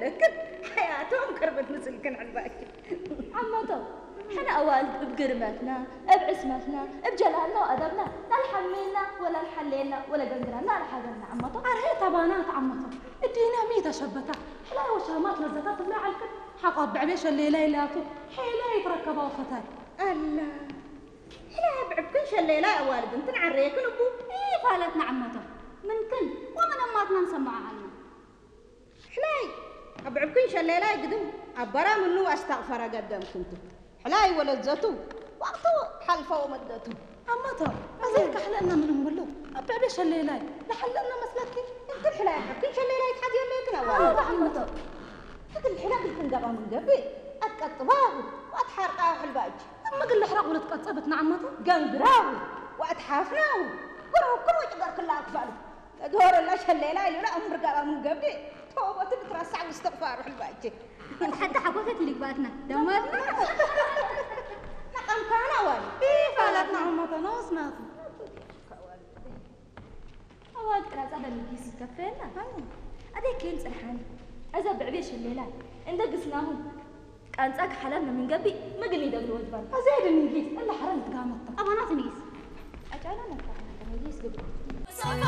ለክን ሓያቶም ቅርብት ምስልክን ዕልባኪ። ዓመቶም ሕነ ኣዋልድ እብ ግርመትና፣ እብ ዕስመትና፣ እብ ጀላልና ወኣደብና፣ ላልሓምየና ወላልሓለየና ወለገንግረና ኣልሓዘና ዓመቶም። ኣርሄ ተባና ተዓመቶም። እዲና ሚ ተሸበታ። ሕላይ ወሻማት ለዘታ ትብላ ዓልክን። ሓቋ ብዕቤ ሸሌላ ይላቱ። ሄላ ይትረከባ ወፈታይ። ኣላ። ሕላይ ብዕብክን ሸሌላ ኣዋልድ እንትን ዓረየክን እቡ። ይፋለትና ዓመቶም። ምንክን ወምን ኣማትና ንሰማዓ ዓልና። ሕላይ ኣብ ዕብክን ሸሌላይ ግድም ኣበራ ምኑ ኣስተቕፈረ ገደም ክንቱ። ሕላይ ወለዘቱ ወቅቱ ሓልፈው መደቱ። ኣማቶ ኣዘይ ካሕለና ምንም ብሎ ኣብ ብዕቤ ሸሌላይ ለሓለና መስለኪ። እንትን ሕላይ ኣብ ዕብክን ሸሌላይ ትሓዚ የለይክን ኣዋልድ። ኣማቶ ትግል ሕላ ግልክን ገባ ምን ገብእ ኣትቀጥባሁ ወኣትሓርቃሁ ሕልባእጅ። እምግል ሕረቕ ውለት ቀጸበት ንዓመቱ። ገንግራሁ ወኣትሓፍናሁ ገረብክን ወጭገርክላ ክፋሉ። ተድሆረላ ሸሌላ ኢሉላ እምርጋባ ምን ገብእ ተወበቱ ብትረሳዕ ውስትቕፋሩ ሕልባእጅ። ሓንቲ ሓጎሰት ይልግባትና ደማትና። ነቐምካና ዋል። ይፋለትና ዓመቶ ነወስናቱ። ኣዋል ጥራጻ በምጊስ ይከፈልና። ኣደይ ኬን ጽርሓን። እዛ ብዕቤ ሸሌላ እንደ ግስናሁ ቃንጻ ክሓለል ነው ምንገቢ ምግል ይደግሉ ወጅባን። እዛ ሄደ ምንጊስ እንደ ሓረን ትጋመታ። ኣባናት ምጊስ። ኣጫላ ነታ ምጊስ ግብ።